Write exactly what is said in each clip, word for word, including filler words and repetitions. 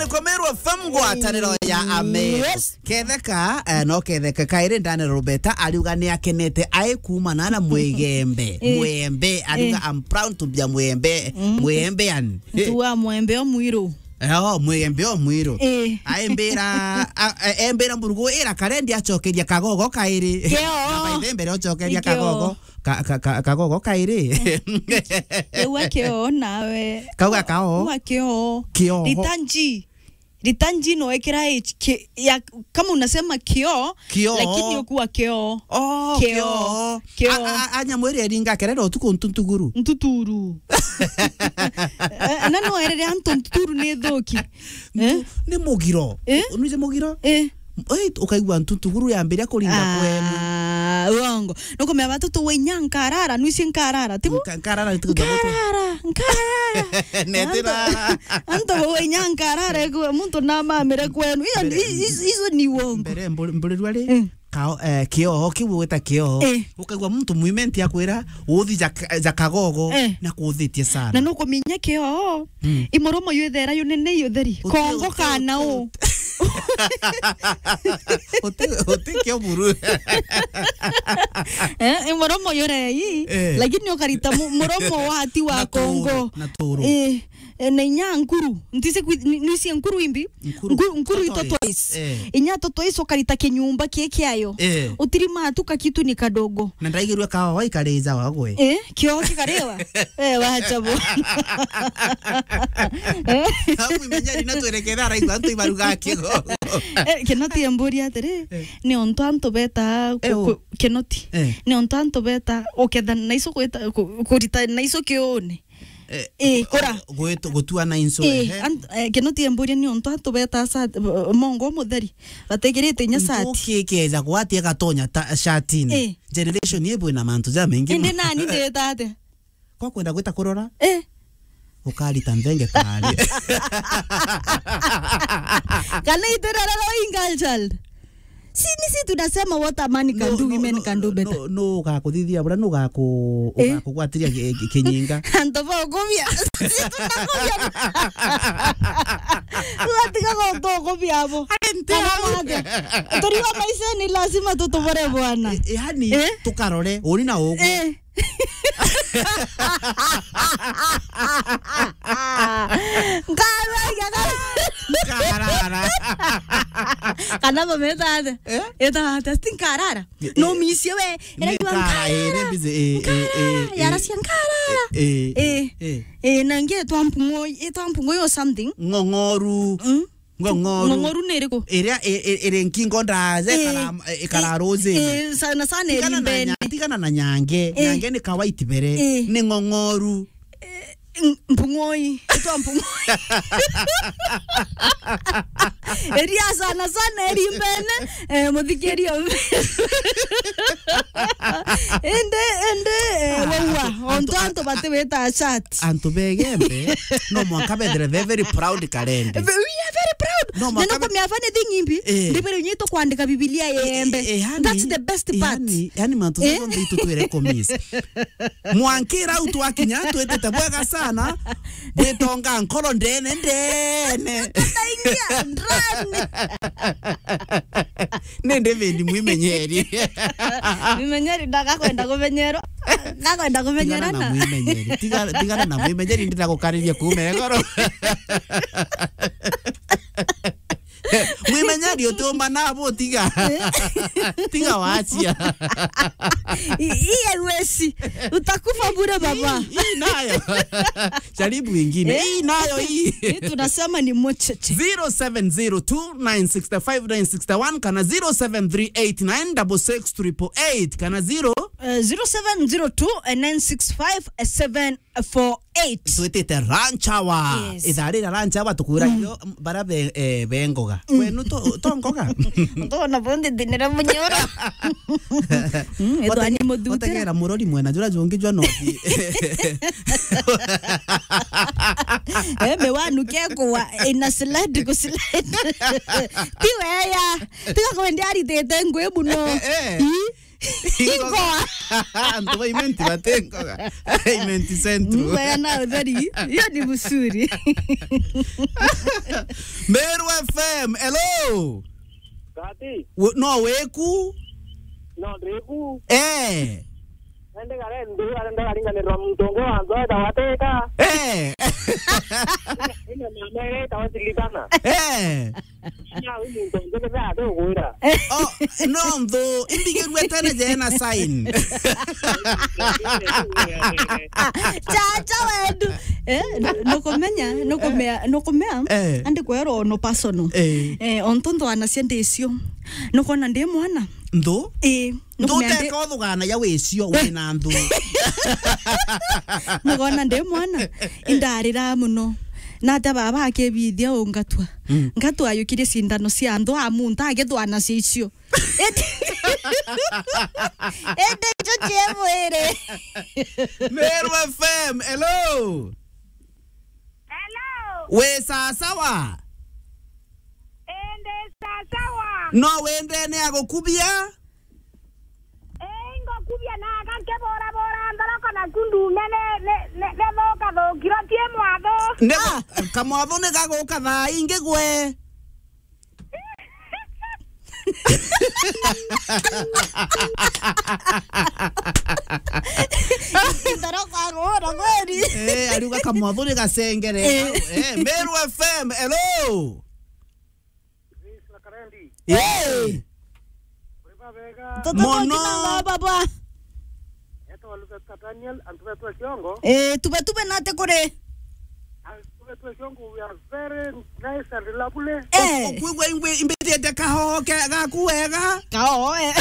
Komerwa F M ngwataniro ya Ameru. Yes. Ketheka, eh, no ketheka kairi ndane Roberta ariuga ni akenete ai kuumana na Mwigembe. Eh. Mwembe, ariuga, eh, "I'm proud to be a Mwembe." Mm. Mwembean. Ntu wa Mwembe o mwiru. Eh, o, Mwembe o mwiru. Eh. Aimbira, a, a, embira mburugu ira karendi acokeria kagogo kairi. Kio. Na by the mbere ocokeria, kio, kagogo. Ka, ka, ka, kagogo kairi. Ewa kio nawe. Kauga kao. Wa kio. Kio. Rita nji. Rita nji no ekira H, ki-, ya, kama unasema kio, kio, lakini ukuwa kio. Oh, kio. Kio. Kio. A, a, a, a, nyamu iria iringa kerere utuku ntuntuguru. Ntuturu. Eh, na no erere antu ntuturu ni thuki. Eh? Ntu-, ni mugiro. Eh? Nuije mugiro? Eh. Oi, ukaigua ntuntuguru yambiria kuringa kwenu. Ah, uongo. Nukumea batu tu wenya nkarara, nuisi nkarara, tibu? Nka-, nkarara ni tukuja gutu. Nkarara, nkarara. Netira. Antu, antu wenya nkarara, ekwe muntu na mamire kwenu. Iyo, mbere, i-, i-, izo ni uongo. Mbere, mburi-, mburirwa ri? Mm. Kao, eh, kioho, kiu gwita kioho. Eh. Ukaigua muntu mwimenti akwira, "Uthi ja, ja kagogo, eh, na kuthitie sana." Na nukuminya kioho, mm, i muromo yu ithera yu nene yu theri. Uti-, kongo uti-, kana uti-, u? Uti-, uti kio buru. Eh, i muromo yu rei, eh, lakini ukarita mu-, muromo wati wa na kongo. Turu, na turu. Eh. Eh, na inya nkuru. Ntise kwi-, ni-, nisi nkuru imbi? Nkuru. Nku-, nkuru i tortoise. Tortoise. Eh. Inya tortoise ukarita kinyumba ki kiayo. Eh. Utirima tu kakitu ni kadogo. Na ndaigirwe kawa ikarija wagwe. Eh, kio kikariwa. Eh, wacha bo. Eh. Hapo imenyari na twerekera araigua antu ibaruga kigo. Eh, kino ti emburi atiri, eh, ni ontu antu beta ku-, eh, ku-, kino ti. Eh. Ni ontu antu beta uketha na iso kwita, ku-, kurita na iso kiuni. Eh, eh, kura. Gwetu gutua na inso, eh, ehe. An-, eh, kino ti emburia ni ontu antu beta sa-, mongo mutheri. Bategirite inya sati. Ntuki ikeja gwati agatonya ta-, shatini. Eh. Generation yebu ina mantu ja mengi. Indi nani ndeta atia? Kwa kwenda gwita kurora? Eh. Ukarita nthenge tari. Kana itirararwa i girl child? Si, ni si tunasema what a man can do, women can do better. No, no, no, ugakuthithia bura, no ugaku-, eh, ugakugwatiria ki-, ki-, kinyinga. Antu ba ukubia. Si tunakubia. Ugatiga guntu ukubia abo. Ati nti kana abo. Mate. Turiwa maisha ni lazima tutubore bwana. E, e, yani, eh? Tukarore, uri na ugu. Eh. Nkarara. Nkarara. Kana bameta atia? Eh? Eta atia? Ati nkarara? Eh, no misie we. Ni eragua nkara, eh, nkarara. Ni busy, eh, eh, eh, nkarara. Eh, yaracia nkarara. Eh, eh, eh, eh, eh, na ingi etwa mpung'oi, etwa mpung'oi or something. Ng'ong'oru. Mm? Ng'ong'oru. Ng'ong'oru ni iriku? Iria i-, i-, iri nkingo ndaja, eh, ikara-, ikara, eh, ruzini. Eh, sana sana iri mbene. Tigana na nya-, tigana na nyange. Eh. Nyange ni kawaiti bere. Eh. Ni ng'ong'oru. Eh, ng-, mpung'oi. Itwa mpung'oi. Iria sana sana iri mbene, eh, muthikirio. Indi, indi, eh, waua. Antu, ontu antu batiwita chat. Antu begembe, no mwanka bethire, they're very proud karende. We are very proud. No, na mwanka no be- kumia funny thing imbi, eh, ndibere unyi tukwandika Biblia yembe. Eh, eh, yani, that's the best part. Yani, yani mantu, eh, jonthe itu twire kumiss. Mwankira au twakinya, twitite bwega sana. Bwitonga nkoro ndene, ndene. Tutaingia ndani. Ni David Mwimenyeri. Mwimenyeri ndagakwenda kumenyerwa. Gakwenda kumenyerana. Tigana na Mwimenyeri. Tiga-, tigana na Mwimenyeri, ndira gukariria kuuma igoro. Mwimenyeri utiumba nabo, tiga. Tiga wacia. I-, iye wesi. Utakufa bure, baba. Hii, hii nayo. Jaribu ingine. Eh? Hii nayo hii. Hii tunasema ni mocheche. Zero seven zero two nine six five nine six one kana zero seven three eight nine double six triple eight kana zero, eh, zero seven zero two nine six five seven four eight. Twitite lunch hour. Yes. Ithaa rira lunch hour tukwira, mm, yo, m-, bara be-, eh, bengoga. Mm. Kwenu to, to ngoga? Tona bondi dinira munyoro. Mm, ethwa ni muthutira. Otegera murori mwena jura jungi jwa nothi. Eh, me wanu ke kuwa ina slide ku slide. Ti weya. Tiga kwendi aritite ngui muno. Eh, eh. Ii. Ingoga. Antu ba Imenti bati ngoga. Imenti Central. Mgwea na utheri. Hiyo ni mzuri. Meru F M, hello. Gati. We-, no wiku? No ndiku. Eh. Ende gare ndu, arenda garinganirwa muntu ungi wa nzoe ta wateka. Eh. Ina mama ere ta wasilitana. Eh. Nya wi muntu ungi ni thaa tugwira. Oh, no nthu, imbigirwe tene jena sign. Chacha wendu. Eh, nukumenya, nukumea, nukumea. Eh. Andi kwerwo no personal. Eh. Eh, ontu nthwanacia ndicio. Nukona ndi mwana. Nthu? Eh. Nukumea ndi- Nduteka uthugana ya wicio wina nthu. Nukona ndi mwana. Indarira muno. Na ata baba akibithia ungatua. Mm. Ngatua ayukirie cindano cia nthu amunta agithwanacia icio. Indi, indi icio cie mwiri. Meru F M, hello. Hello. Wi sasawa? Indi sasawa. No wendene agukubia? Ii, ngukubia na aka nkibura bura nthoroko naku ndume ni, ni, ni, ni thuka thukiro cie mwathu. Ni Ah. Kamwathu ni gaguka thaa ingi gwe. Nthoroko agura kweli. Eh, ariuga kamwathu ni gacengere. Eh. Eh, Meru F M, hello. Hey! Mono. Baba. Etwa Luther Daniel, antu betu a Kiongo. Eh, tube, tube nate kuri? Antu betu a Kiongo, we are very nice and lovely. Eh. Okwigua ingwe imbitite kahoho ke gaku wega. Kahoho, eh.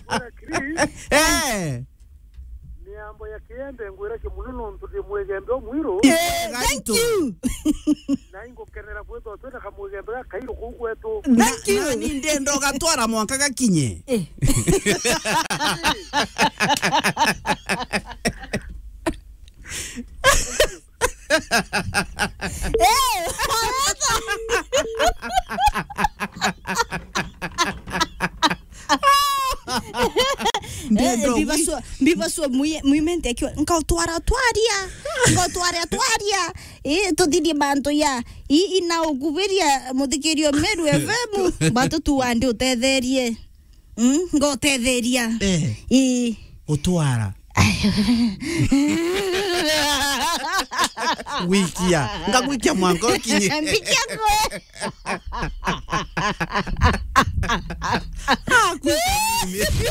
Bwana Chris. Eh. Miambo ya Kiembe ngwira kimuno nontu ndi Mwigembe omwiru. Eh, thank you. Na ingukenera kwithwa twina kamwigembe gakairu kuu gwetu. Thank you. Na, na ni ndenda ugatwara mwanka gakinye. Eh. Eh, ndenda eh, ugwi- mbibasua, mbibasua mwi-, mwimente akiwa, "Nkautwara twaria, nkautwara twaria." Eh, tuthirie mantu ya, i, ina ukubiria muthikirio Meru F M, batu tu andi utetherie. Mm, ngotetheria. Eh. Ii. Gutwara. Gwikia. Ngagwikia mwanka ukinye. Mbikia kwe. Ah, kuka mimi.